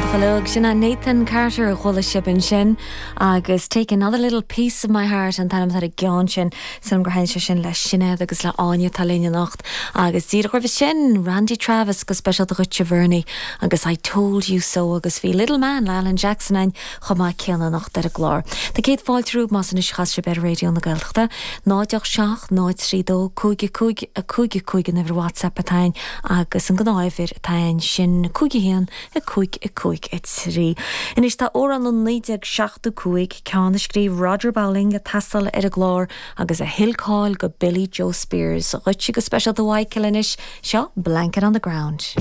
Iontach uilig. Sin é Nathan Carter a chuala sibh ansin agus Take Another Little Piece of My Heart an t-ainm atá ar an gceann sin. Sílim gur thaitin sé sin le Sinéad agus le Áine atá linn anocht. Agus díreach roimhe sin, Randy Travis go speisialta dhuitse Bhernie agus I Told You So agus bhí Little Man le Alan Jackson ann chomh maith céanna anocht ar an gclár. Tá céad fáilte romhaibh más anois a chas sibh ar Raidió na Gaeltachta. 0 8 7 0 3 2 5 5 5 5 an uimhir WhatsApp atá ann agus an gnáthuimhir atá ann sin 5 1 5 5 3. Anois tá amhrán ó 1975, ceann a scríobh Roger Bowling, ag teastáil ar an gclár agus a thuill cáil go Billie Jo Spears. Dhuitse go speisialta a Mhichael anois, seo Blanket on the Ground.